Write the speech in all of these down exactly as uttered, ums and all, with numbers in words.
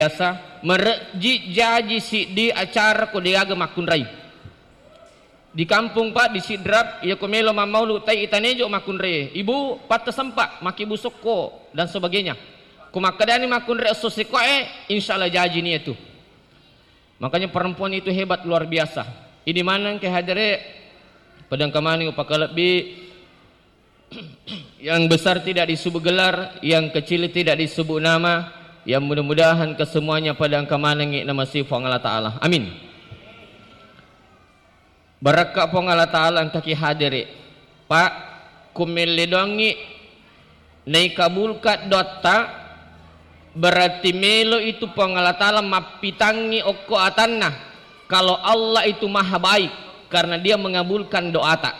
biasa, merejji jaji siddi acara ko degaga makkunrai. Di kampung, Pak, di Sidrap, iya ko melo mammaulu tai itanejo makkunrai. Ibu, patta sempa, maki busokko, dan sebagainya. Ko makkedani makkunrai esso sekoe, insya Allah jaji ni itu. Makanya perempuan itu hebat luar biasa. Ini maneng ke hadere, padang kamani upakalebbi, yang besar tidak disebut gelar, yang kecil tidak disebut nama, yang mudah-mudahan kesemuanya padang kamanengi nama si Puang Allah Ta'ala. Amin. Barakka Puang Allah Ta'ala engkaki hadere. Pak, kumelle doangngi naikabulka doatta, berarti melo itu Puang Allah Ta'ala mappitangngi okko atanna. Kalau Allah itu maha baik, karena Dia mengabulkan doata.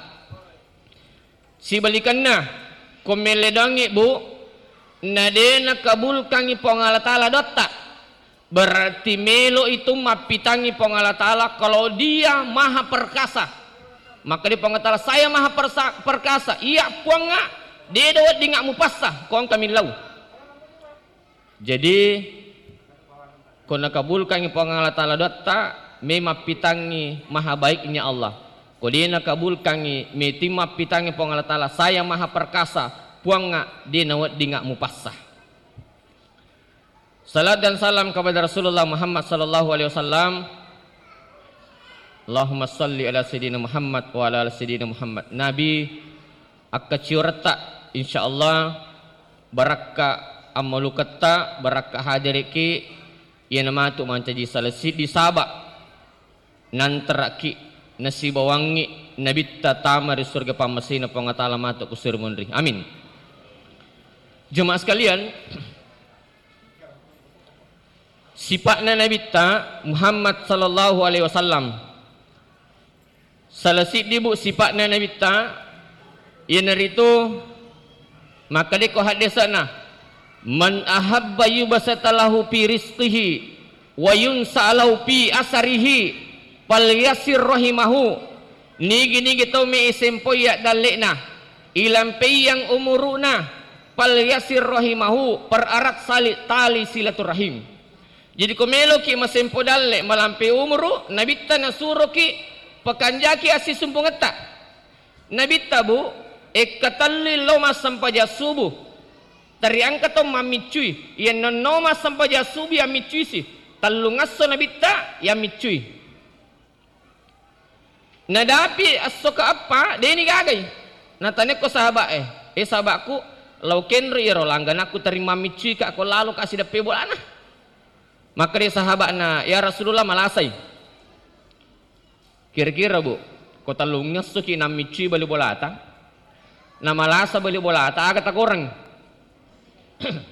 Sibalikanna, ko melle doangngi, Bu, na de nakabulkangngi Puang Allah Ta'ala doatta, berarti melo itu mappitangngi Puang Allah Ta'ala kalau Dia maha perkasa. Maka di Puang Allah Ta'ala, "Saya maha persa-, perkasa." Iya, Puang, de do wedding mupassa, ko engka millau. Jadi, ko nakabulkangngi Puang Allah Ta'ala doatta, memang pitangngi maha baiknya Allah. Ko de nakabulkangngi, meti mappitangngi Puang Allah Ta'ala, "Saya maha perkasa, Puang, de nawedding mupassa." Salat dan salam kepada Rasulullah Muhammad sallallahu alaihi wasallam. Allahumma salli ala Sayyidina Muhammad wa ala ali Sayyidina Muhammad. Nabi, akkacioretta, insyaallah, barakka ammaluketta, barakka hadiriki, iyana matu mancaji sala siddi saba nantaraki nasibawangngi nabitta tama ri surga pammasena Puang Allah Ta'ala matu ku suri munri. Amin. Jemaah sekalian, sipa'na Nabitta Muhammad sallallahu alaihi wasallam. Sala siddi, Bu, sipa'na Nabitta, iyanaritu makkedako haddesana, "Man ahabba yubsata lahu fi rizqihi wa yunsa lahu fi asarihi, falyasir rahimahu." Nigi-nigi tau me isempoi yaddalle'na, ilampeiang umuru'na, "Falyasir rahimahu," pererat sali-, tali silaturahim. Jadi, ko meloki masempo dalle, malampe umuru, Nabitta nasuroki pakanjaki assisumpungetta. Nabitta, Bu, ekkatellui lao massempajang subuh. Tariangka to mammiccui. Iyanna no massempajang subuh yammiccuisi. Tellungesso Nabitta yammiccui. Nadapi esso keeppa, deni gagai. Natanekko sahabat e, "Eh, sahabatku, lao kenro iyaro langganakku teri mammiccuika ko laloka sideppe bolana." Makkeda sahabatna, "Ya Rasulullah, malasai." Kira-kira, Bu, ko tellungessoki nammiccui bali bolata, namalasa bali bolata, aga takorengngi?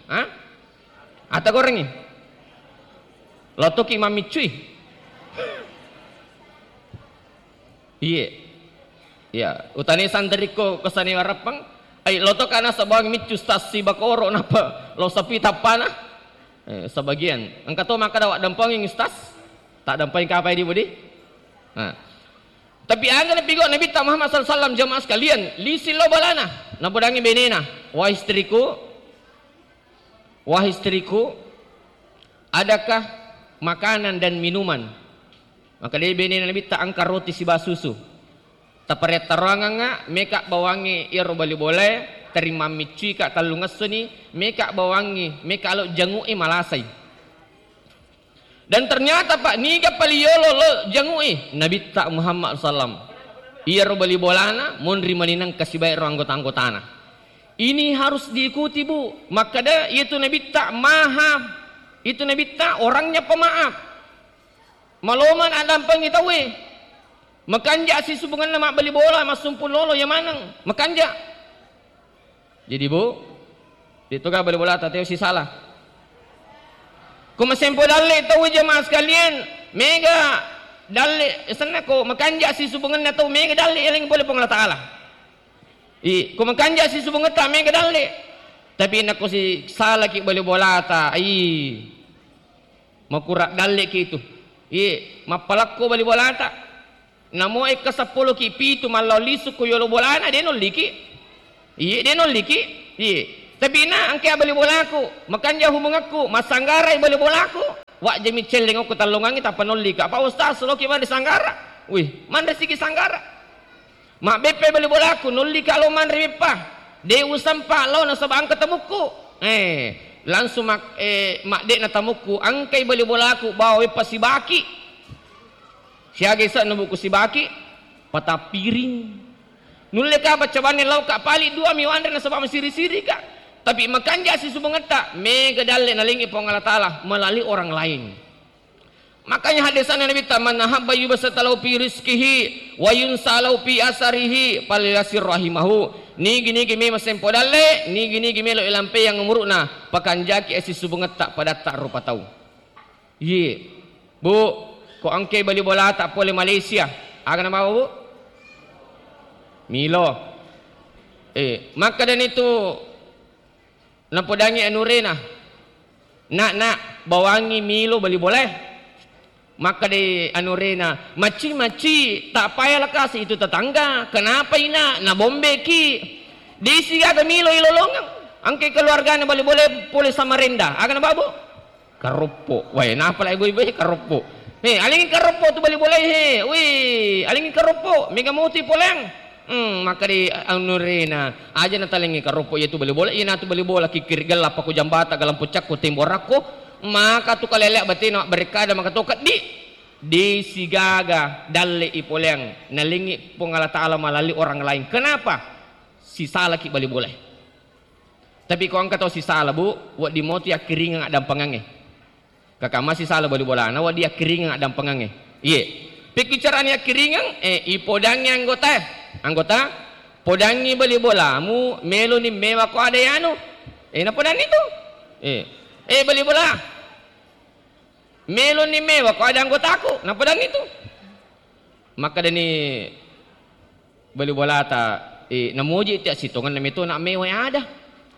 Ha? Aga takorengngi? Lotoki mammiccui? Iye. Ya, utane santarikko ko sane warappang, ai lotoka nasabang miccu stasi bakoro napa lo sapi tappana? Eh, sebagian. Engka to makkeda, "Wa dampengi, Ustaz?" Tak dampengi kapai di budi? Nah. Tapi aga napigau Nabitta Muhammad sallallahu alaihi wasallam, jamaah sekalian, lisi lo balana, napodangi benena, "Wahai istriku, wahai istriku, adakah makanan dan minuman?" Maka dia benena Nabitta, "Engka roti siba susu." Taparettaroangengnga, meka bawangngi iyaro bali bolae, teri mammiccuika tellungessoni, meka bawangngi, meka lo jangu'i malasai. Dan ternyata, Pak, niga pali yolo lo jangu'i? Nabitta Muhammad sallam. Iyaro bali bolana monri manineng kasibae ro anggota-anggotana. Ini harus diikuti, Bu. Makkeda, itu Nabitta maha, itu Nabitta orangnya pemaaf. Malomang addampengi tauwe. Makanja sisupungenna mabbali bola, massumpung lolo, iya maneng. Makanja. Jadi, Bu, de toga bali bolata teo sisala. Ko masempo dalle tauwe, jamaah sekalian, mega dalle senna ko makanja sisupungenna tau, mega dalle eleng pole Puang Allah Ta'ala. I, ko makanja sisubungetta mega dalle. Tapi nako si salaki bali bolata, ai, makura dalleki itu. Iye, mappalakko bali bolata. Namo ekka seppuloki pitu mallau lisu ko yolo bolana, de nolliki. Iye, de nolliki. Iye. Tapi na engka bali bolaku, makanja hubungakku, massanggarai bali bolaku. Wajjami celleng okko tallongangnge tappa nollika. Pak Ustaz, loki manre sanggara. Wih, manre siki sanggara. Mabbeppa bali bolaku, nollika lo manre beppa. De usampa lo nasaba engka tamukku. Eh, langsung mak-, eh, madde'na tamukku, engkai bali bolaku bawa beppa sibaki. Siaga ise'na buku sibaki? Patappiring. Nulle ka baca banne lauka pali dua mi wanre nasaba masiri-sirika. Tapi makanja sisubungetta, mega dalle nalengi Puang Allah Taala melalui orang lain. Makanya hadisana Nabitta, "Man ahabba yubsata lahu fi rizqihi wa yunsa lahu fi asarihi falyasir rahimahu." Nigi-nigi memang sempo dalle, nigi-nigi melo ilampeyang umuru'na, pakanjaki sisubungetta padatta rupa tau. Iye. Bu, ko engke bali bolata pole Malaysia, aga namawa, Bu? Milo. Eh, makkedani tu napodangi anurena, "Nak, nak, bawangi milo bali bolae." Makkeda anurena, "Macci, macci, tak payahlah kasih itu tetangga. Kenapa, Ina? Nabombeki." Disi gaga milo ilolongeng. Engke keluargana bali bolae pole Samarinda. Aga nabawa, Bu? Karoppo. Wae, napa lai boi-boi karoppo? He, alengi karoppo tu bali bolae he. Wih, alengi karoppo. Mega moti poleang. Hmm, makkeda anurena, "Aja natalengi karoppo iya tu bali bola, iya natu bali bola kikkiri gella pako jambata galampu cakko temborakko, maka tu kalelea batena mabberekkada maka to keddi." Disi gaga dalle i poleang, nalengi Puang Allah Taala melalui orang lain. Kenapa? Sisalaki bali bolae. Tapi ko engka tau sisala, Bu, wedding moti akkiringeng addampengengnge. Kakak masih sala bali bolana, wedding akkiringeng addampengengnge. Iye. Pekkicarani akkiringeng, eh, ipodangi anggota, anggota, "Podangi bali bolamu, meloni mewa ko ada yanu." Eh, napodanni tu. Eh, eh, bali bola. "Meloni mewa ko ada anggotaku." Napodanni tu. Makkedani bali bolata, eh, namuji tiak sitongenna meto nak mewa ada.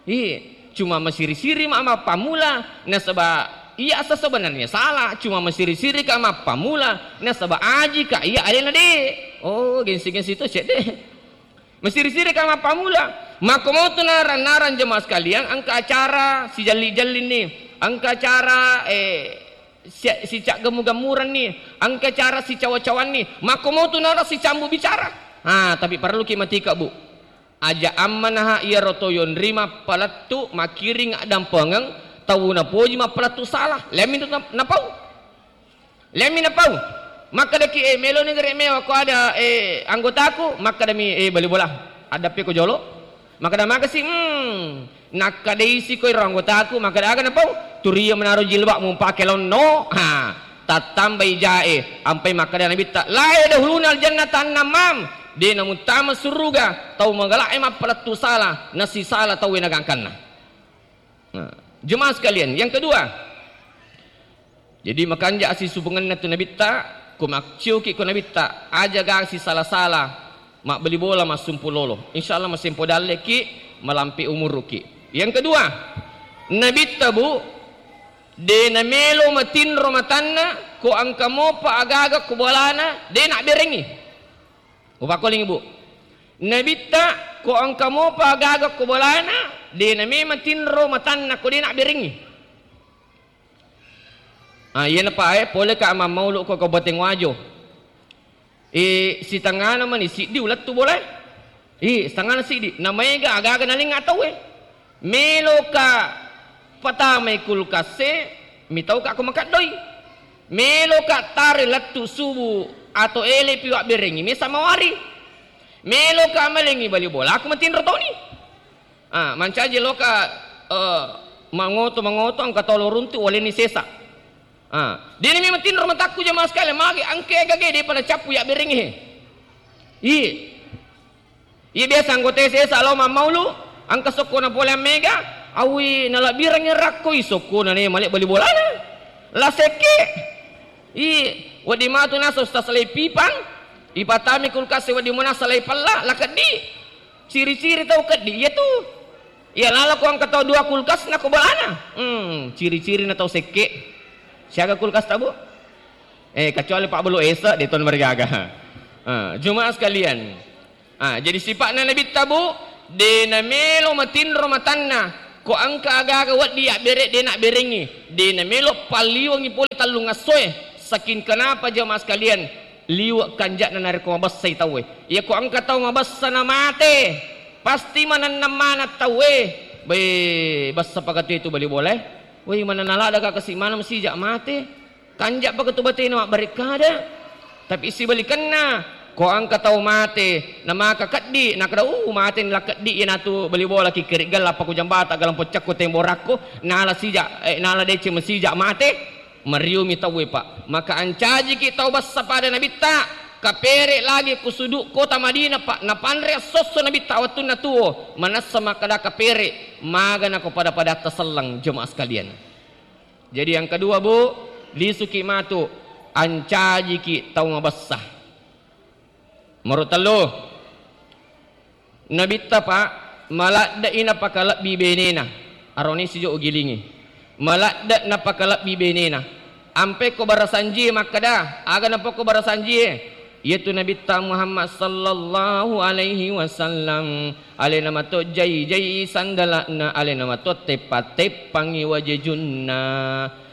Eh, cuma masiri-siri ma mappamula, nasaba iya asa sebenarnya salah, cuma masiri-siri ka mappamula, nasaba aji ka iya alena de. Oh, gengsi-gengsi to cedde. Masiri-siri ka mappamula. Makkomotu narang-narang jemaah sekalian, engka acara sijalli-jallinni, engka acara, eh, si-, sicaggemmu-gemmurenni, engka acara sicawa-cawanni, makkomotu narang sicambu bicara. Ha, tapi parelluki matika, Bu. Aja ammanaha iyaro to yonri mappalettu, makkiring addampengeng, tau napoji mappalettu salah. Lemmi tu na-, napau. Lemmi napau. Makkedaki, "Eh, meloni gare mewa ko ada, eh, anggotaku?" Makkedami, "Eh, bali bola, addappe ko jolo." Makkeda magasi, "Hmm, nakkedaisi ko iro anggotaku." Makkeda, "Aga napau?" "Turia menaro jilbab mumpake lonno." Ha, tattambai jae, ampai makkeda Nabitta, "La yadkhulunal jannata annamam." De namuttama suruga tau magala'e mappalettu sala, nasisala tauwe nagangkanna. Nah, jemaah sekalian, yang kedua, jadi makanja asisupungenna tu Nabitta, ko maccioki ko Nabitta, aja gasi sala-sala, mabbali bola, massumpu lolo. Insya Allah masempo dalleki, malampe umuruki. Yang kedua, Nabitta, Bu, de namelo matinro matanna, ko engka mopa agaga ko bolana, de nabberengi. Upakkolingi, Bu. Nabitta, ko engka mopa agaga ko bolana, de namelo matinro matanna ko de nabberengi. Ah, iyana pae, pole ka mammaulu ko Kabupaten Wajo. Eh, sitengana mani siddi ulettu bolae. Eh, sitengana siddi. Namaega agaga nalengnga tauwe. Meloka patamai kulkasse, mitauka ko makaddoi. Meloka tare lettu subu atau elepi wabberengi mesa mawari. Meloka malengi bali bola, aku matinro toni. Ah, mancaji loka, eh, mangoto-mangoto engka tolo runtu waleni sesa. Ah, dini memang tinro matakku jamaah sekalian, magi engke gage depa nacappu ya berengi he. Iya. Iya biasa anggota sesa lo mammaulu, engka sokkona pole mega, awi nalabbirangi rakkoi sokkona ne male bali bolana. La sekke. Iya, wedding matu nasa ustaz lai pipang, ipatami kulkas wedding munasa lai pella, la keddi. Ciri-ciri tau keddi iya tu. Iya lalo ko engka tau dua kulkas na ko bolana. Hmm, ciri-ciri na tau sekke. Siaga kulkas ta, Bu? Eh, kecuali Pak Belu Esa, de ton marigaga. Ah, jemaah sekalian. Ah, jadi sipakna Nabitta, Bu, de namelo matinro matanna. Ko engka aga-aga wedding yabbereng, de nabberengngi, de namelo palliwengngi pole tellung essoe. Saking kenapa, jamaah sekalian, liwe' kanja'na narekko mabessai tauwe. Iya ko engka tau mabessa na mate, pasti manenneng maneng tauwe. Be, bessa pakatu itu bali bolae. Woi, maneng naladda ka kasi maneng masija' mate. Kanja' pakatu batena mabbere' kada. Tapi sibalikenna, ko engka tau mate, namaka keddi, nakada, "Uh, mate ni la keddi, iyanatu bali bola ki keri gella pa ku jambata galang poccakku temborakku, nala sija', eh, nala deceng masija' mate." Mariumi tauwe, Pak. Maka ancajiki tau bessa pada Nabitta, kapere' lagi ku sudu' kota Madinah, Pak. Napanre esso-esso Nabitta wettunna tuo, manessa makkada kapere', maga nako pada-padatta selleng, jemaah sekalian. Jadi yang kedua, Bu, lisuki matu, ancajiki tau mabessa. Nomoro tellu, Nabitta, Pak, maladde'i napakalebbi benena. Aroni sijo ugilingi. Maladde' napakalebbi benena. Ampe ko barasanjie makkada, aga napokko barasanjie? Iyatu Nabitta Muhammad sallallahu alaihi wasallam, alena mato jai-jai sandala'na, alena mato teppa-teppangi wajejunna.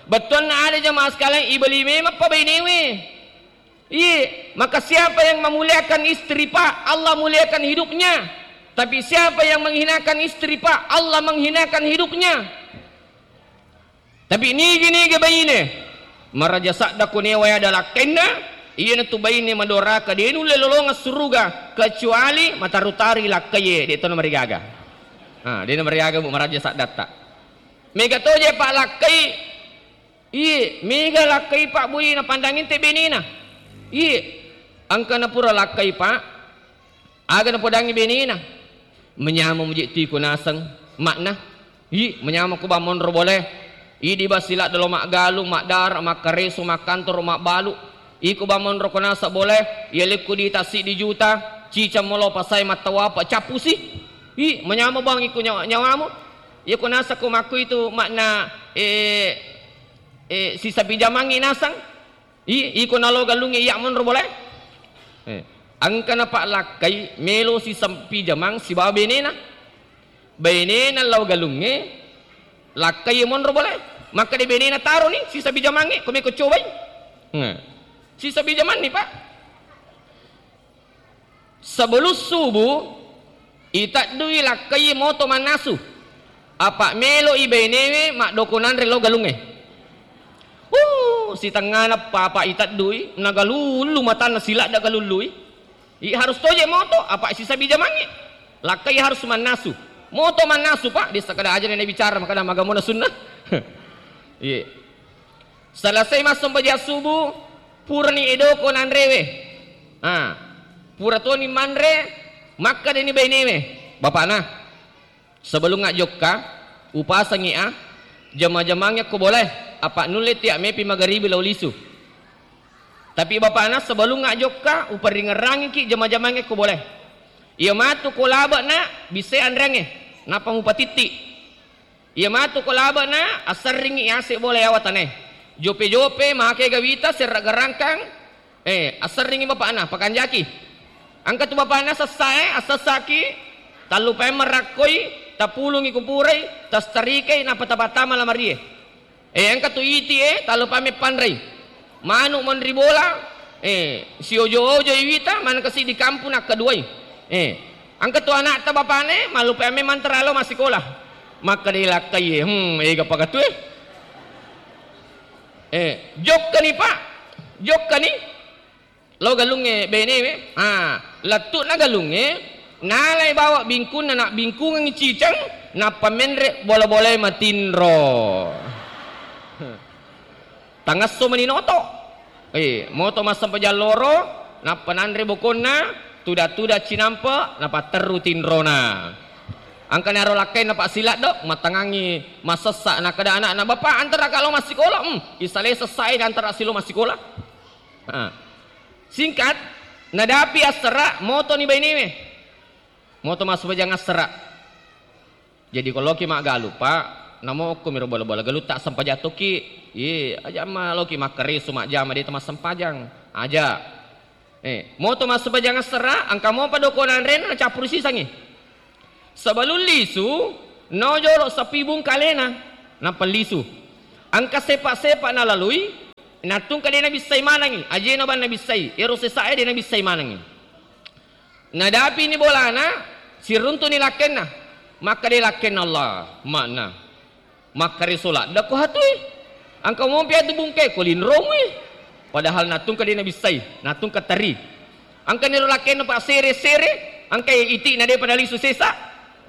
Bettuanna ada, jamaah sekalian, ibeli memang pa bainewe. Iye, maka siapa yang memuliakan istri, Pak, Allah muliakan hidupnya. Tapi siapa yang menghinakan istri, Pak, Allah menghinakan hidupnya. Tapi nigi-nigi baine maraja sadda ko newa ada lakkainna, iyanatu baine madoraka, de nulle lolongeng suruga kecuali mataru-taru lakkaie, de to namarigaga. Ah, de namarigaga, Bu, maraja saddatta. Mega toje, Pak, lakkai. Iye, mega lakkai, Pak, bui napandangi te benena. Iye, engka napura lakkai, Pak. Aga napodangngi benena? Manyameng muji tu iko naseng, makna. Ih, manyameng ko ba monro bolae. Idi ba siladde lo maggalung, maddara, makkareso, makkantoro, mabbalu. Iko ba monro ko naseng bolae, yalekko di tassiddi juta, ciceng molo pasai mattawapa, cappusi. Ih, manyameng bang iko nyawa-, nyawamu. Iya ko naseng ko makku itu makna, eh, eh, sisapi jamangngi naseng. I-, iko nalo galungnge iya monro bolae? Eh, engka napallakkai melo sisempi jamang sibawa benena. Benena lao galungnge, lakkai monro bolae. Makkeda benena, "Taroni sisapi jamangnge, ko meko cobai." Nah, sisapi jamanni, Pak. Sebelum subuh, iteddui lakkai moto mannasu. Apa melo i bainewe maddoko nanre lao galungnge. Uh, sitengngana papa iteddui, nagalullu matanna siladda galullui. I harus toje moto, apa sisabi jamangnge. Lakkai harus mannasu. Moto mannasu, Pak, desa kada aja na bicara, makana magamona sunnah. Iya. Selesai massempajang subuh, purani edoko nanrewe. Ah, pura toni manre, makkedani bainewe, "Bapakna, sebelum ajjokka, upasangi a, jama-jamangnge ko bolae, apa nulle tia mepi magaribi lao lisu. Tapi bapakna, sebelum ajjokka, uparingerrangiki jama-jamangnge ko bolae. Iya matu ko labe na, bissai anreangnge, nappa mupatitti." Iya matu ko labe'na, asserringngi yase bola yawa tanae. Jope-jope, make gawita, serra garangkang, eh, asserringngi bapa'na, pakanjaki. Engka tu bapa'na sessae, assessaki, tallupai marakkoi, tapulungi kupurai, tastarikai, nappa tapattama lamarie. Eh, engka tu iti e, tallupai meppanrei. Manu monri bola, eh, siojo-ojo iwita, maneng kasi di kampung nakkaduai. Eh, engka tu anakta bapane, mallupai amme mantara lo massikola. Makkeda lakkai, hmm, ega pakatue. Eh, jokkani, Pak. Jokkani. Lo galungnge benewe. Ah, lettu'na galungnge, nalai bawa bingkunna, nak bingkungengngi ciceng, nappa menre bola-bolae matinro. Tangesso mani noto. Eh, moto massempajang loro, nappa nanre bokonna, tuda-tuda cinampe, napatterru tinrona. Engkani aro lakkainna Pak Siladdo, mattangangngi massessa, nakkeda anakna, "Bapak, antaraka lo massikola?" "Hmm, isalai sessae, antara silo massikola." Ah. Singkat, nadapi assera, motoni bainewe. Moto massempajang assera. Jadi ko loki maggalu, Pak, namo okko miro bola-bola galutta sempajang tokki. Iye, aja ma loki makkareso majjama de to massempajang. Aja. Eh, moto massempajang assera, engka mopa doko nanrena nacappuru sisangi. Sebelum lisu, No jolo sapibung kalena, nappa lisu. Engka sepa-sepa nalalui, nattungka de' nabissai manengngi, ajena bang nabissai, ero sesae de' nabissai manengngi. Nadapini bolana, siruntu'ni lakkenna. Makkeda lakkenna, Allah, makna. Makkare sola, dako hatui. Engka mompi atu bungke ko linromui. Padahal nattungka de' nabissai, nattungka teri. Engka niro lakkenna pa sere-sere, engka iti'na de'pa nalisu sesa,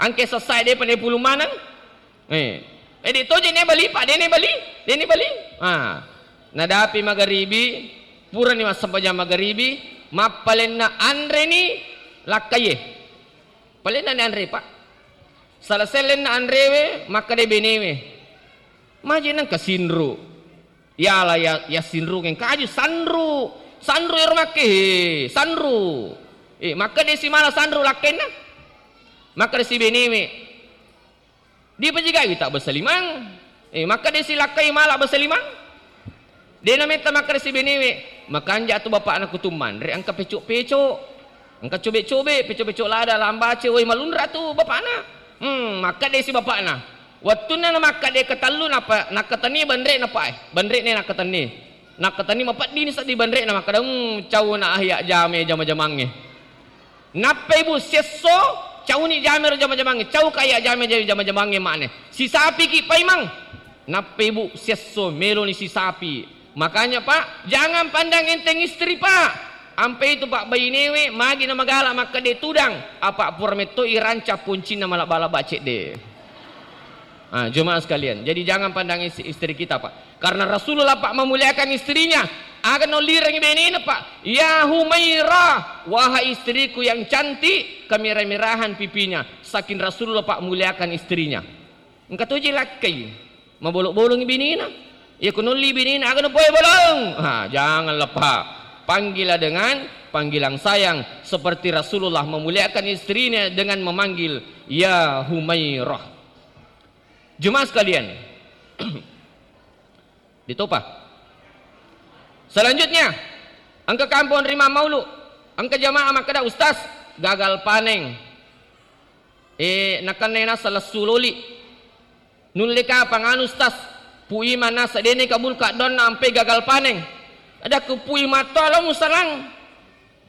engka sessae de'pa napulung maneng. Eh. Eh, de' toje ne bali, Pak, de' ne bali, de' ne bali. Ah. Nadapi magaribi, purani massempajang magaribi, mappalenna anreni lakkaie. Palenna ni anre, Pak. Sala sellenna anrewe, makkeda benewe. Maje nengka sinru. Yala ya, ya sinru ngeng kaju sanru. Sanru ero makke, he, sanru. Eh, makkeda si mala sanru lakkenna. Makkeda si benewe. Dipajigai wita basa limang. Eh, makkeda si lakkai mala basa limang. De' nametta makkeda si benewe, makanja' tu bapa'na kutu manre engka peco'-peco'. Engka cobe'-cobe', peco'-peco' lada, lambace, woi malunra tu bapa'na. Hmm, makkeda si bapa'na. Wettunna namakkeda ketellu napa nakkatenni banre'na, Pak, eh. Banre'ne nakkatenni. Nakkatenni mapeddini seddi banre'na makkeda, hmm, cau na ahya jame jama-jamangnge. Nappai bu siesso, cauni jamero jama-jamangnge, cau kaya jame jama-jamangnge mane. Sisapiki paimang. Nappai bu siesso, meloni sisapi. Makanya, Pak, jangan pandang enteng istri, Pak. Ampe itu, Pak, bainewe magi na magala makkeda tudang, apa pura metto iranca puncinna malabba-labba cedde. Ah, jemaah sekalian, jadi jangan pandang is-, istri kita, Pak. Karena Rasulullah, Pak, memuliakan istrinya. Aga nollirengi benena, Pak. "Ya Humairah, wahai istriku yang cantik, kemerah-merahan pipinya." Saking Rasulullah, Pak, muliakan istrinya. Engka toje lakkai. Mabolong-bolongi benena. Iya ko nolli benena, aga napoe bolong. Ah, janganlah, Pak. Panggillah dengan panggilan sayang. Seperti Rasulullah memuliakan istrinya dengan memanggil, "Ya Humairah." Jemaah sekalian, ditopa. Selanjutnya, engka kampong ri Mammaulu, engka jamaah makkeda, "Ustaz, gagal panen." Eh, nakenna nasa lessu loli. Nulle kapang anu, Ustaz? Pu Imang nasa dene kabulka doanna ampe gagal panen. Adakku Pu Imang to lo musalang.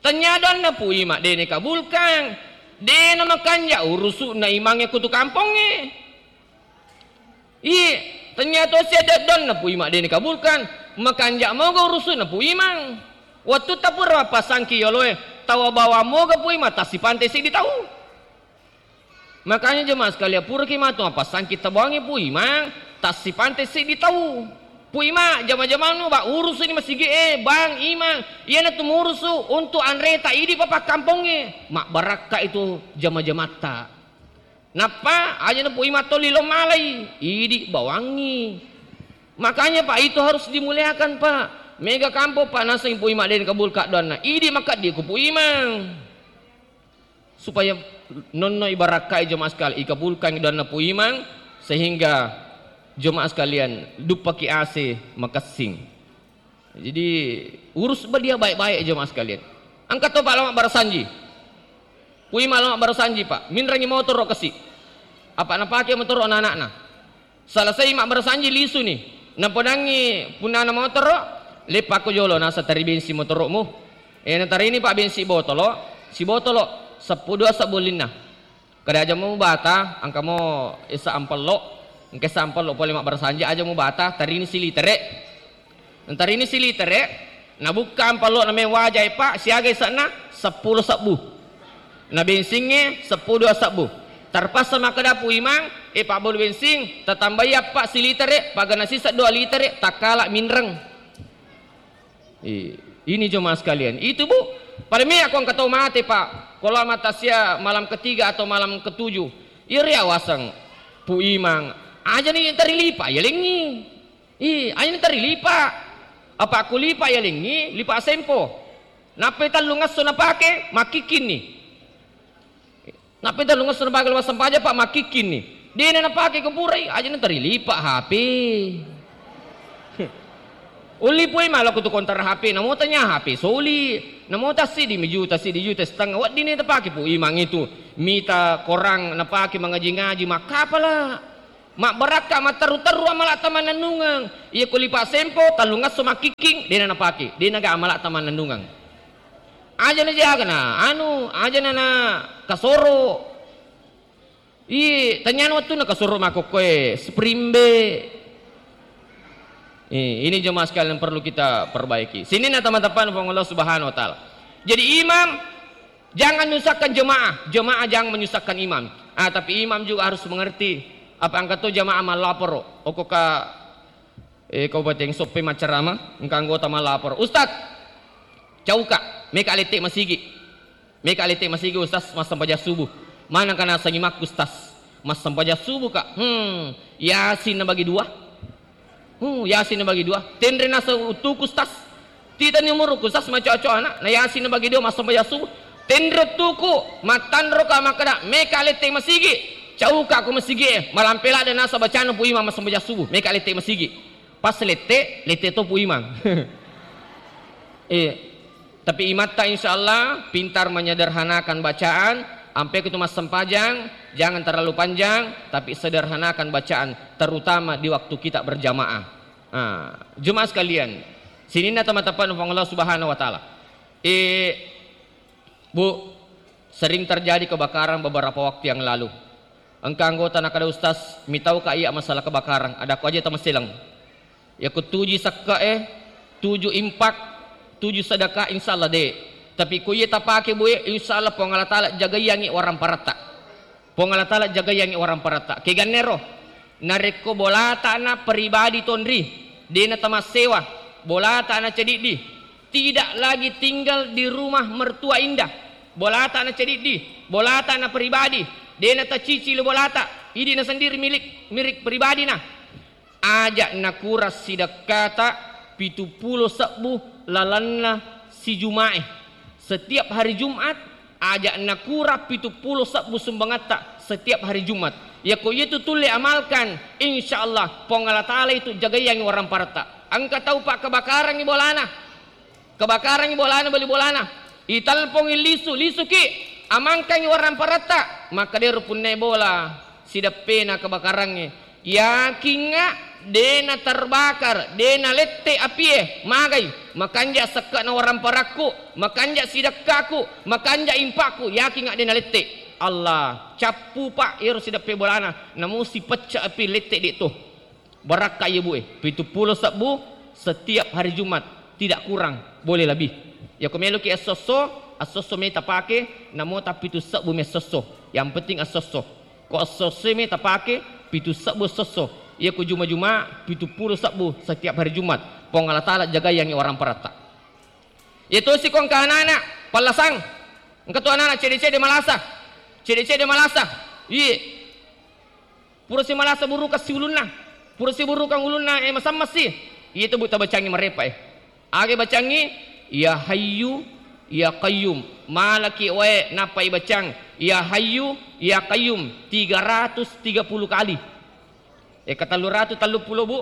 Tanya doanna Pu Imang dene kabulkang. Dena makanja urusu'na imangnge kutu kampongnge. Iye, tanya to siada doanna Pu Imang dene kabulkang. Makanja moga urusu'na Pu Imang. Wettu tapura mappasangki yoloe, tawa bawang moga Pu Imang tassipante seddi tau. Makanya jemaah sekalian, puraki matu mappasangki tabawangi Pu Imang, tassipante seddi tau. Pu Imang, jama-jamanu, ba, urusuni masigi e, Bang, Imang, iyanatu murusu untuk anreta idi papakkampongnge. Mabbarakka itu jama-jamatta. Nappa, ajana Pu Imang tolli lo malai, idi bawangi. Makanya, Pak, itu harus dimuliakan, Pak. Mega kampong, Pak, naseng Pu Imang dene kabulka doanna. Idi makaddi ku Pu Imang. Supaya nonno ibarakkai jemaah sekalian, ikabulkan doanna Pu Imang, sehingga jemaah sekalian duppaki ase makessing. Jadi, urus ba dia baik-baik jemaah sekalian. Engka to, Pak, lama barasanji. Pu Imang lama barasanji, Pak. Minrangi motoro kasi. Apa napake motoro anak-anakna. Selesai mabbarasanji lisuni. Napodangngi punnana motoro, leppakko jolo nasa tari bensin motoromu. Eh, natarini, Pak, bensin botolo, sibotolo, seppulo dua sebbu olinna. Kada aja mu bata, engka mo esa ampello, engka esa ampello pole mabbarasanji aja mu bata, tarini silitere. Ntarini silitere, nabukka ampallo na me wajae, Pak, siaga ise'na? Seppulo sebbu. Na bensingnge seppulo dua sebbu. Terpaksa makkeda Pu Imang, "E, pabbalu bensing, tatambai appa silitere, pagana sisa dua litere, takkala minreng." I-, ini jemaah sekalian. Itu, Bu, pada me aku engka tau mate, Pak. Kalau mata sia malam ketiga atau malam ketujuh. Iri awaseng Pu Imang. Aja ni tari lipa, ya lengi. Ih, aina tari lipa. Apa ku lipa yalengngi, lipa sempo. Nappai tellung esso napake, makkikkinni. Nappai tellung esso napake lo massempajang, Pak, makkikkinni. Dena napake ko purai, aja na tari lipa H P. Ulli Pu Imang lao ko tu kontara H P, namo tanya H P soli, namo tassiddi mi juta, siddi juta setengah, weddinni tapake Pu Imang itu, mita korang napake mangaji-ngaji, makkapala. Mabbarakka matteru-teru amala'ta mannennungeng. Iya ko lipa sempo, tellungesso makkikking, de'na napake, de'na ga amala'ta mannennungeng. Aja na jaga na anu, aja na, na kasoro. Ih, tanyana wettunna kasoro makkokkoe spring bed. Eh, ini jemaah sekalian perlu kita perbaiki. Sininna teman-teman Puang Allah Subhanahu wa Ta'ala. Jadi imam jangan menyusahkan jemaah, jemaah jangan menyusahkan imam. Ah, tapi imam juga harus mengerti. Apa engka to jemaah mallaporo, okko ka, eh, Kabupaten Soppeng maccarama, engka anggota mallaporo, "Ustaz, cauka, meka lette masigi." Meka lette masigi, Ustaz, massempajang subuh. Manengka naseng imakku, Ustaz? Massempajang subuh ka. Hmm, Yasin nabagi dua. Hmm, Yasin nabagi dua. Tenre naseng uttuku, Ustaz. Titani umurku, Ustaz, macoa-coa anak. Na Yasin nabagi dua massempajang subuh. Tenre uttuku, mattanro ka makkeda, meka lette masigi. Cauka ko masigi e. Malampe ladde nasa bacana Pu Imang massempajang subuh. Meka lette masigi. Pas lette, lette to Pu Imang. Eh, tapi imatta insya Allah pintar menyederhanakan bacaan, ampe itu massempajang, jangan terlalu panjang, tapi sederhanakan bacaan, terutama di waktu kita berjamaah. Ah, jemaah sekalian, sininna teman-teman Puang Allah Subhanahu wa Ta'ala. Eh, Bu, sering terjadi kebakaran beberapa waktu yang lalu. Engka anggota nakada, "Ustaz, mitau ka iya masalah kebakaran, ada ko aja tamaselang." Ya ko tuju sekka e, tuju impak, tuju sedekah, insya Allah de. Tapi ko iya tapake Bu e, insya Allah Puang Allah Ta'ala jagaiyangi warang paratta. Puang Allah Ta'ala jagaiyangi warang paratta. Kegannero, narekko bolata na pribadi tonri, dena tamassewa, bolata na cediddi, tidak lagi tinggal di rumah mertua indah. Bolata na cediddi, bolata na pribadi, dena tacicili bolata, idi na sendiri milik, milik pribadi na. Aja nakurang sidekkata pitu pulo sebbu lalenna sijumae. Setiap hari Jumat, aja nakurang pitu pulo sebbu sumbangatta setiap hari Jumat. Yako iya tu tulle amalkan, insya Allah Puang Allah Ta'ala itu jagaiyangi warang paratta. Engka tau pak kebakarangi bolana. Kebakarangi bolana, bali bolana. Itelpongi lisu, lisuki, amangkangi warang paratta. Makkedero punnai bola, sideppena kebakarangnge. Yakinga dena terbakar, dena lette apie, magai. Makanja sekke'na warang parakku, makanja sidekkaku, makanja impakku, yakinga dena lette. Allah, cappu pak ero sideppe bolana, namusi pecca api lette de to. Barakka iya Bu e, pitu pulo sebbu setiap hari Jumat, tidak kurang, boleh lebih. Yako meloki esso-esso, esso-esso meta pake, namo tappitu sebbu mi esso-esso. Yang penting esso-esso. Ko esso-esso meta pake, pitu sebbu esso-esso. Yako juma-juma, pitu pulo sebbu setiap hari Jumat. Puang Allah Ta'ala jagaiyangi warang paratta. Iya tosi ko engka anak-anak, pallasang. Engka tu anak-anak cede-cede malasa. Cede-cede malasa. Iye. Pura si malasa burukang si ulunna. Pura si burukang ulunna, eh, masammassi. Iya tu Bu tabacangi marepa, eh. Aga bacangi, "Ya Hayyu, Ya Qayyum." Malaki wae nappa ibacang, "Ya Hayyu, Ya Qayyum," tiga ratus tiga puluh kali. Eka tellu ratu tellu pulo, Bu,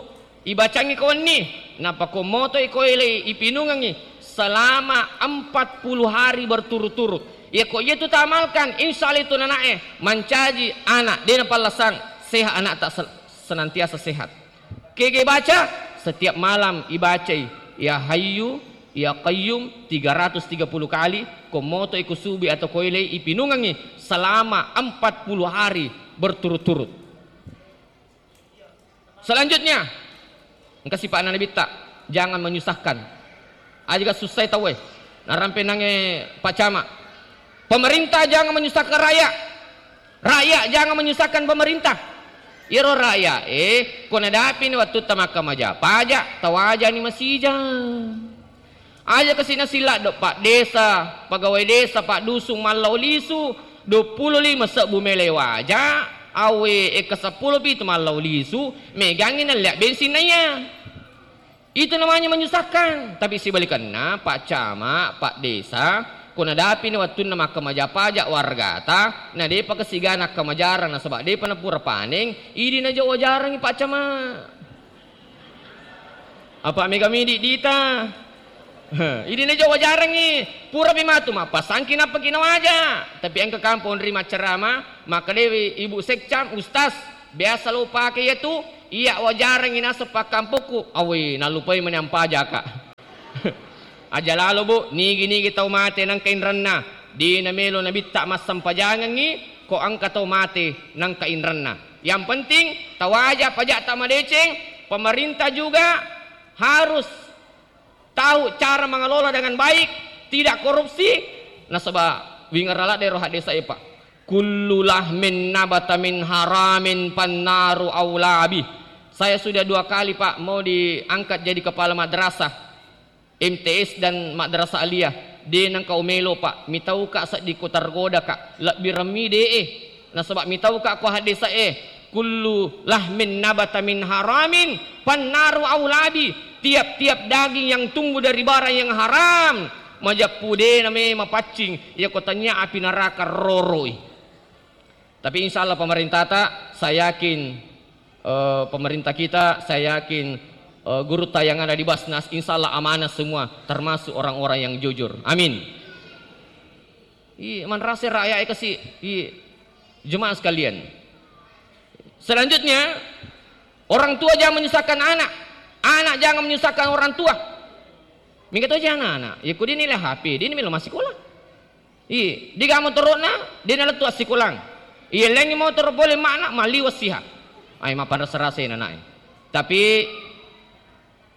ibacangi ko wenni, nappa ko moto iko ele ipinungengi selama empat puluh hari berturut-turut. Iya ko iya tu tamalkan, insya Allah itu nanae mancaji anak, dena pallasang, sehat anak tak sel-, senantiasa sehat. Kege baca, setiap malam ibacai, "Ya Hayyu, Ya Qayyum," tiga ratus tiga puluh kali, ko moto iko subi atau ko ele ipinungengi selama empat puluh hari berturut-turut. Selanjutnya, engka sipa'na Nabitta, jangan menyusahkan. Aja ga sussai tauwe. Narampe nange Pak Camat. Pemerintah jangan menyusahkan rakyat. Rakyat jangan menyusahkan pemerintah. Iyaro rakyat, eh, ko nadapini wattutta makkamaja pajak, tawajani masija. Aja kasi nasilladdo, Pak Desa, pegawai desa, Pak Dusun, mallau lisu, duappulo lima sebbu mele waja, awe, eka seppulo pitu mallau lisu, megangi nallia bensin naiya. Itu namanya menyusahkan. Tapi sibalikanna, Pak Camat, Pak Desa, ko nadapini wattunna makkamaja pajak wargata, na depa kasiga nakkamajarang nasaba depa napura paneng, idi naja wajarangi Pak Camat. Apa mega midi dita? Heh, idi najo wajarengngi. Pura pi matu mappasangki nappaki nawaja. Tapi engka kampo onri maccarama, makkedewi ibu sekcam, ustaz, biasa lo pake iyatu, iya wajarengngi naseng pakkampokku. Awe, nallupai mani ampajaka. Aja lalo, Bu, nigi-nigi tau mate nangka inrenna. Dina melo nabitta massempajangengngi, ko engka tau mate nangka inrenna. Yang penting, tawaja pajakta madeceng, pemerintah juga harus tahu cara mengelola dengan baik, tidak korupsi. Nasaba wingerala dero hadesa epa. Kullu lahmin nabata min haramin pannaru aulabi. Saya sudah dua kali, Pak, mau diangkat jadi kepala madrasah. M T S dan Madrasah Aliyah, de nengka umelo, Pak, mitauka seddi ko tergodaka, lebbi remmi de e. Nasaba mitauka ko haddesae, kullu lahmin nabata min haramin, pannaru aulabi. Tiap-tiap daging yang tumbuh dari barang yang haram, majeppu de name mapaccing, iya ko tanya api neraka roroi. Tapi insya Allah pemerintah ta, saya yakin, eh, pemerintah kita, saya yakin, eh, gurutta yang ada di Basnas, insya Allah amanah semua, termasuk orang-orang yang jujur. Amin. Iya, manrasa rakyat kasi, iya. Jemaah sekalian. Selanjutnya, orang tua jangan menyusahkan anak, anak jangan menyusahkan orang tua. Mingka to aja anak-anak, ya ku dia nilai H P, dia nilai masih sekolah. Iya, diga motoro'na, de nalettu assikolang. Iya, lengngi motoro pole makna, malliwa siha. Ai, mappanrasa-rasai nanae. Tapi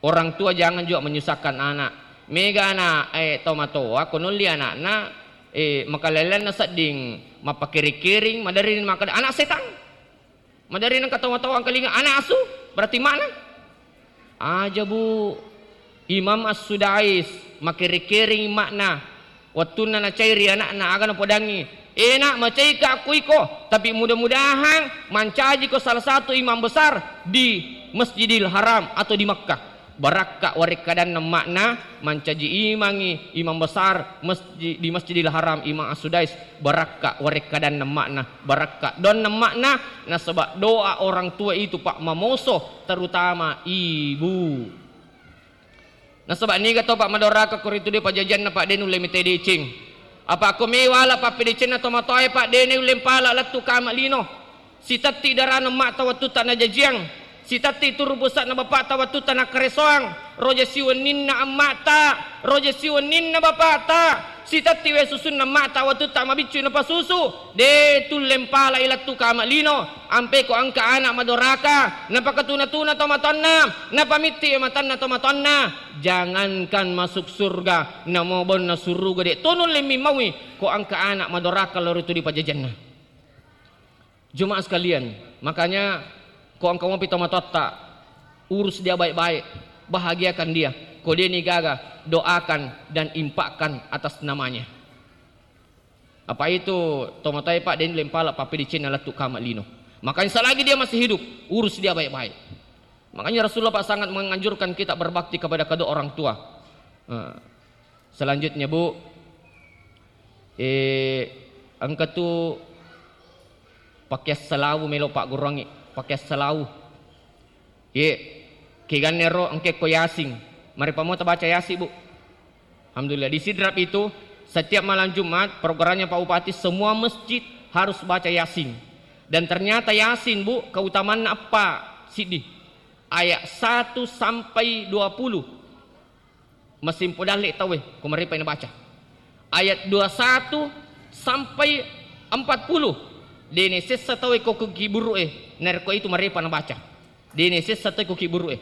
orang tua jangan juga menyusahkan anak. Mega anak, eh, tomatoa, ko nolli anakna, eh, makalellenna sedding, mappakering-kering, maderri makkeda, anak setang. Maderri nengka tawang-tawang kalinga, anak asu, berarti makna? Aja, Bu. Imam As-Sudais, makere-kereng makna. Wettunna nacairi anakna, aga napodangi. Enak, macaika akku iko, tapi mudah-mudahan mancajiko salah satu imam besar di Masjidil Haram atau di Makkah. Barakka warekkadanna makna, mancaji imangi imam besar masji-, di Masjidil Haram, Imam As-Sudais, barakka warekkadanna makna, barakka donna makna, nasaba doa orang tua itu, Pak, mamoso, terutama ibu. Nasaba niga to, Pak, madoraka ko ritu de pajajianna, Pak, de nulle mite deceng. Apa ko mewala pappedecenna tomatoae, Pak, de nulle mpala lettu kama lino. Sitetti darana emma'ta wettutta najajiang, sitetti turu pusa'na bapa'ta wettutta nakkaresoang, roja siwenninna emma'ta, roja siwenninna bapa'ta, sitetti wae susunna emma'ta wettutta mabiccu napasusu, de tulle mpalai lettu kama lino, ampeko engka ana' madoraka, napakatuna-tuna tomatoanna, napamitti matanna tomatoanna, jangankan masuk surga, namo bonna suruga de to nulle mimmaui, ko engka ana' madoraka lao ritu di pajajianna. Jemaah sekalian, makanya ko engka mopi tomatoatta, urus dia baik-baik, bahagiakan dia. Ko dia ni gaga, doakan dan infakkan atas namanya. Apa itu tomatoae, Pak, de nulle mpala pappedecenna lettu kama lino. Makanya selagi dia masih hidup, urus dia baik-baik. Makanya Rasulullah, Pak, sangat menganjurkan kita berbakti kepada kedua orang tua. Eh, selanjutnya, Bu, eh, engka tu pakeang salawu melo pagguruangngi, pakeang salawu. Ye, keganne ro engke ko Yasin. Mari pamota baca Yasin, Bu. Alhamdulillah, di Sidrap itu setiap malam Jumat programnya Pak Bupati, semua masjid harus baca Yasin. Dan ternyata Yasin, Bu, keutamaanna eppa siddi. Ayat satu sampai dua puluh. Masimpo dalle tauwe, ko marepa nabaca. Ayat dua satu sampai empat puluh. Dene sessa tauwe ko kiburu'e, narekko itu marepa nabaca. Dene sessa tauwe ko kiburu'e.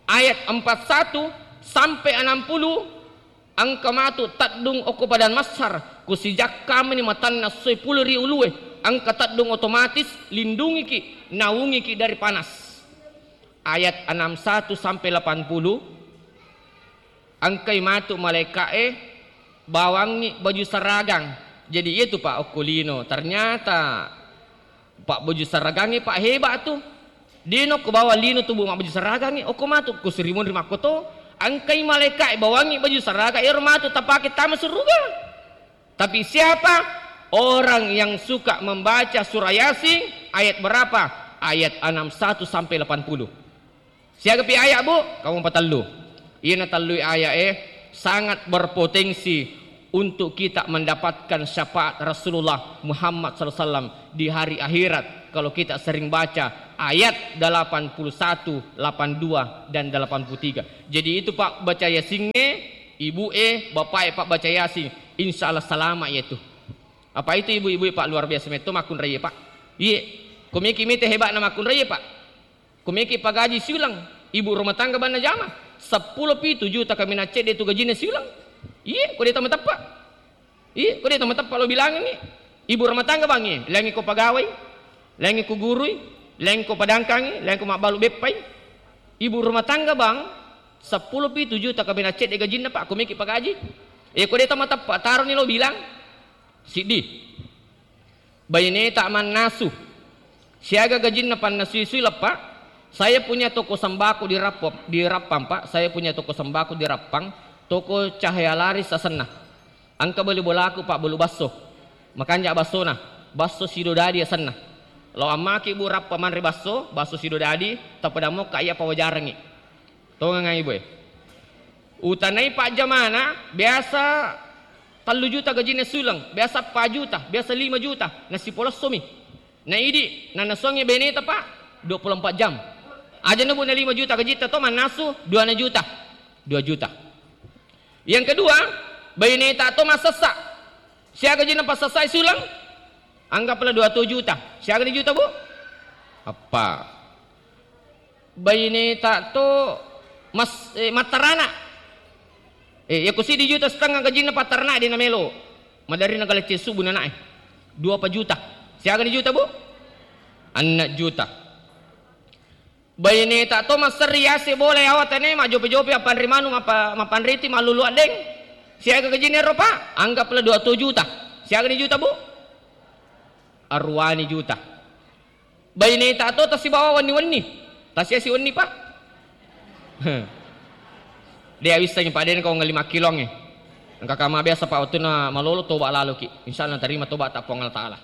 Ayat empat satu sampai enam puluh, engka matu teddung okko padang Masar, ko sijakkamani matanna seppulo ri ulue, engka teddung otomatis lindungiki, naungiki dari panas. Ayat enam satu sampai delapan puluh, engkai matu malaeka'e bawangngi baju saragang. Jadi, iya tu, Pak, okko lino. Ternyata, Pak, baju saragangnge, Pak, hebat tu. Dino ko bawang lino tu, Bu, mabbaju saragangnge. Okko matu ko sirimunri makkoto. Engkai malaeka'e bawangngi baju saragang, ero matu tapake tama suruga. Tapi siapa orang yang suka membaca surah Yasin, ayat berapa? Ayat enam satu sampai delapan puluh. Siagapi ayat, Bu? Kamu patellu. Iyana tellui ayat e sangat berpotensi untuk kita mendapatkan syafaat Rasulullah Muhammad sallallahu alaihi wasallam di hari akhirat kalau kita sering baca ayat delapan puluh satu, delapan dua, dan delapan puluh tiga. Jadi itu, Pak, baca Yasingnge, ibu e, bapak e, Pak, baca Yasin, insya Allah selamat yaitu. Apa itu ibu-ibu e, Pak, luar biasa metto makkunraie, Pak. Iye, komiki mite hebatna makkunraie, Pak. Komiki pagaji siulang, ibu rumah tangga banna jama, seppulo pitu juta kaminang cedde tu gajinna siulang. Iye, ko de tamateppa. Iye, ko de tamateppa lo bilangengngi. Ibu rumah tangga bangngi, laingngi ko pagawai, laingngi ko gurui, laingngi ko padangkangi, laingngi ko mabbalu beppai. Ibu rumah tangga bang, seppulo pitu juta kaminang cedde gajinna, Pak, komiki pagaji. Iye, ko de tamateppa, taroni lo bilang. Siddi. Baineta mannasu. Siaga gajinna pannasui-sui leppa? Saya punya toko sembako di Rappang, di Rappang, Pak. Saya punya toko sembako di Rappang, toko Cahaya Laris asenna. Engka beli bolaku, Pak, bolu basso. Makanja bassona, basso sidodadi asenna. Lao ammaki, Bu, Rappang manre basso, basso sidodadi, tapada mokka iya pawajarengngi. Tongengngai, Bu e. Utanai pajjamana biasa tellu juta gajinna suleng, biasa empat juta, biasa lima juta, nasipolessomi. Na idi, nanasuangngi beneta, Pak, dua puluh empat jam. Aja na, Bu, na lima juta gajitta to mannasu, dua na juta. Dua juta. Yang kedua, baineta to massessa. Siaga gajinna passessai suleng? Anggaplah dua puluh juta. Siaga ni juta, Bu? Eppa. Baineta to mas-, eh, mattarana. Eh, yako siddi juta setengah gajinna pattarana de namelo. Maderri nagalecce subu nanae. Dua pa juta. Siaga ni juta, Bu? Enneng juta. Baineta to masserri yase bola yawa tane, majjope-jope, mappanre manu, mappa-, mappanriti, mallulu addeng. Siaga gajinna ero, Pak? Anggaplah dua puluh juta. Siaga ni juta, Bu? Aruani juta. Baineta to tasibawa wenni-wenni. Tasiasi wenni, Pak. De awissengi, Pak, de engka wenni lima kiloangnge. Engka kama biasa, Pak, wettunna malolo toba laloki. Insya Allah tarima toba ta Puang Allah Taala.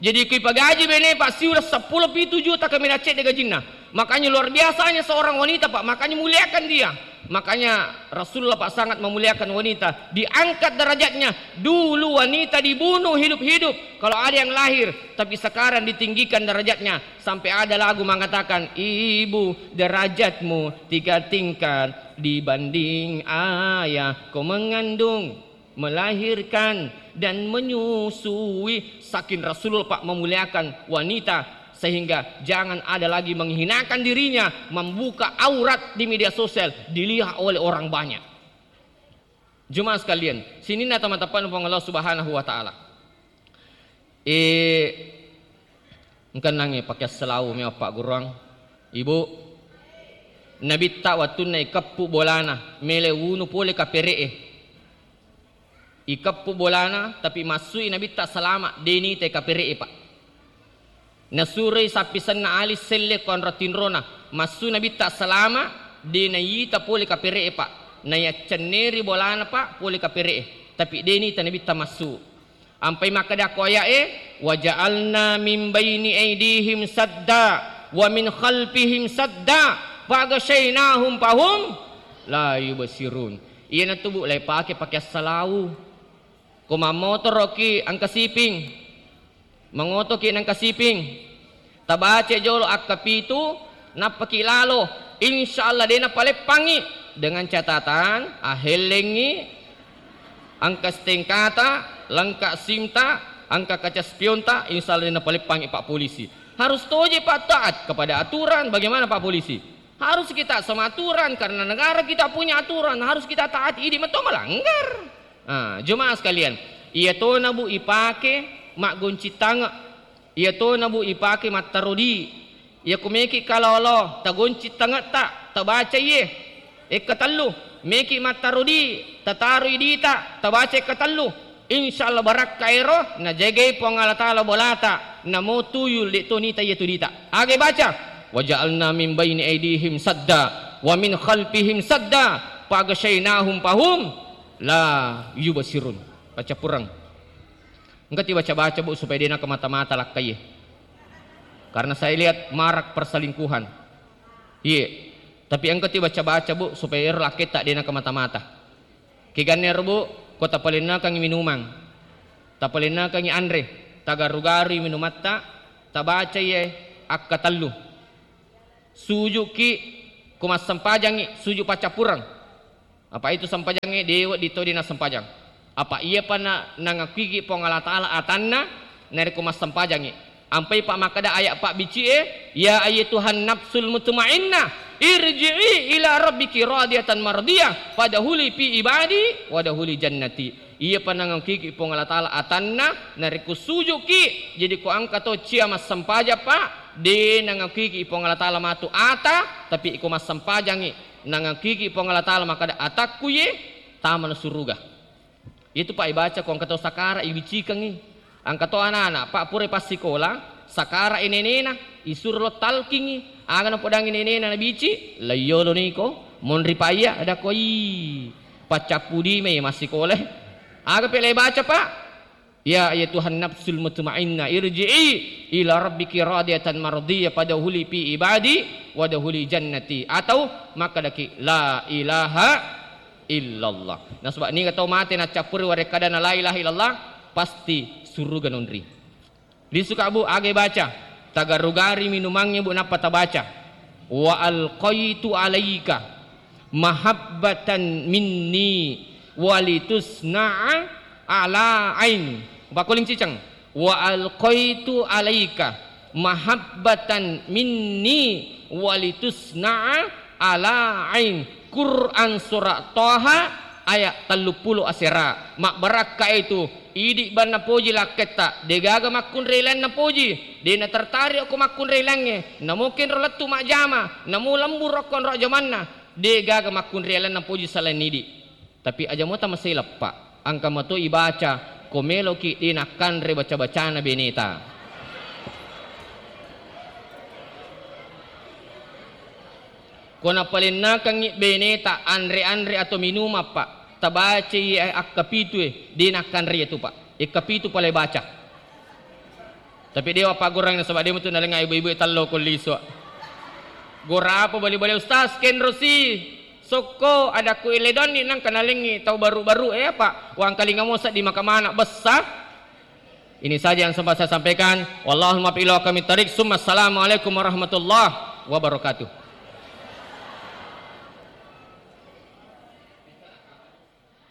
Jadi kui pagaji bene, Pak, siuleng seppulo pitu juta kaminang cedde gajinna. Makanya luar biasanya seorang wanita, Pak. Makanya muliakan dia. Makanya Rasulullah, Pak, sangat memuliakan wanita. Diangkat derajatnya. Dulu wanita dibunuh hidup-hidup kalau ada yang lahir. Tapi sekarang ditinggikan derajatnya. Sampai ada lagu mengatakan, "Ibu, derajatmu tiga tingkat dibanding ayah kau mengandung, melahirkan, dan menyusui." Saking Rasulullah, Pak, memuliakan wanita, sehingga jangan ada lagi menghinakan dirinya, membuka aurat di media sosial, dilihat oleh orang banyak. Jemaah sekalian, sininna tama-tapana Puang Allah Subhanahu wa Ta'ala. Eh, engkennangnge pakeassalau mewa pagguruang. Ibu, Nabitta wettunna ikeppu bolana, mele wunu pole kapere'e. Ikeppu bolana, tapi massui Nabitta salama, de nitai kapere'e, Pak. Nasuroi sappisenna Ali selle ko anro tinrona, massu Nabitta salama, de naita pole kapere'e, Pak. Nayaccenneri bolana, Pak, pole kapere'e. Tapi de nita Nabitta massu. Ampai makkeda ko aya'e, "Wa ja'alna min baini aidihim sadda, wa min khalfihim sadda, faghasyainahum fahum la yubsirun." Iyanatu, Bu, lai pake, pake assalau. Ko mammotoroki engka siping, mangotoki nengka siping, tabaca jolo akka pitu, nappaki lalo, insya Allah de napaleppangi, dengan catatan ahellengi engka stengkata, lengka simta, engka kaca spionta, insya Allah de napaleppangi Pak Polisi. Harus toje Pak taat kepada aturan. Bagaimana Pak Polisi? Harus kita sama aturan, karena negara kita punya aturan, harus kita taati. Idi metto melanggar. Ah, jemaah sekalian, iya tona, Bu, ipake maggoncing tange. Iya tona, Bu, ipake mattarodi. Iya kumeki kalolo, tagoncing tangetta, tabaca iye. Ekka tellu, meki mattarodi, tataroi dita, tabaca ekka tellu. Insya Allah barakka ero, najagai Puang Allah Ta'ala bolata, namo tuyul de to nita iya tu dita. Aga baca, "Wa ja'alna min baini aidihim sadda, wa min khalfihim sadda, faghasyainahum fahum la yubsirun." Baca purang. Engka tibaca-baca, Bu, supaya de naka mata-mata lakkaie. Karena saya lihat marak perselingkuhan. Iye. Tapi engka tu baca-baca, Bu, supaya ero lakketta de' nakamata-mata. Keganna ero, Bu, ko tapalennakangngi minumang, tapalennakangngi anre, tagaru-garui minumatta, tabacai akkatellu. Suju'ki ko massempajangngi, suju' paccappureng. Apa itu sempajangnge de' wedding to de' nassempajang. Apa iyapa na-, nangakkuiki Puang Allah Ta'ala atanna narekko massempajangngi. Ampai pa makkeda ayat pabbici'e, "Ya ayyatuhan nafsul mutmainnah, irji'i ila rabbiki radiyatan mardiyah, fadkhuli fi ibadi wadkhuli jannati." Iyapa nangakkuiki Puang Allah Ta'ala atanna narekko suju'ki, jadi ko engka to cia massempajang, Pak, de' nangakkuiki Puang Allah Ta'ala matu ata, tapi ko massempajangngi, nangakkuiki Puang Allah Ta'ala makkeda, "Atakku ye, tamana suruga." Itu, Pak, ibaca ko engka to sakara' ibicikangngi. Engka to anak-anak, Pak, pura passikola, sakara' i nenena, isuro lo talkingngi. Aga napodangngi nenena nabici, "Laiyolo niko, monri pa iya," ada koi. Paccappu dime massikola. Aga pele baca, Pak? "Ya ayyatuhan nafsul mutmainnah, irji'i ila rabbiki radiyatan mardiyah, fadkhuli fi ibadi wadkhuli jannati." Atau makkedaki, "La ilaha illallah." Nasaba niga tau mate naccappuri warekkadana la ilaha illallah, pasti suruga nonri. Lisuka, Bu, aga baca? Tagaru-garui minumangnge, Bu, nappa tabaca, "Wa alqaitu alaika mahabbatan minni walitusna'a ala aini." Pakkuling ciceng. "Wa alqaitu alaika mahabbatan minni walitusna'a ala ain." Quran surah Toha ayat telluppulo asera. Mabbarakka itu, idi' banna poji lakketta, degaga makkunrai lainna poji, de' natertarik okko makkunrai laingnge, namo kenro lettu majjama, namo lembur okko onro jamanna, degaga makkunrai lainna poji selain idi'. Tapi aja mota maseleppa, engka mato ibaca, ko meloki de' nakkanre baca-bacana beneta. Ko napalennakangngi beneta anre-anre atau minumang, Pak, tabacai akkapitue, de' nakkanre itu, Pak. Ikkapitu pale baca. Tapi dewa paggorangi nasaba de' mutu nalenga ibu-ibu e tallo ko lisu. Gora apa bali-bali ustaz kenro si sokko adakku ile donni nangka nalengi tau baru-baru e apa wangkalinga mo seddi maka mana bessa. Ini saja yang sempat saya sampaikan. Wallahul muwaffiq ila aqwamit thariq. Summa assalamualaikum warahmatullahi wabarakatuh.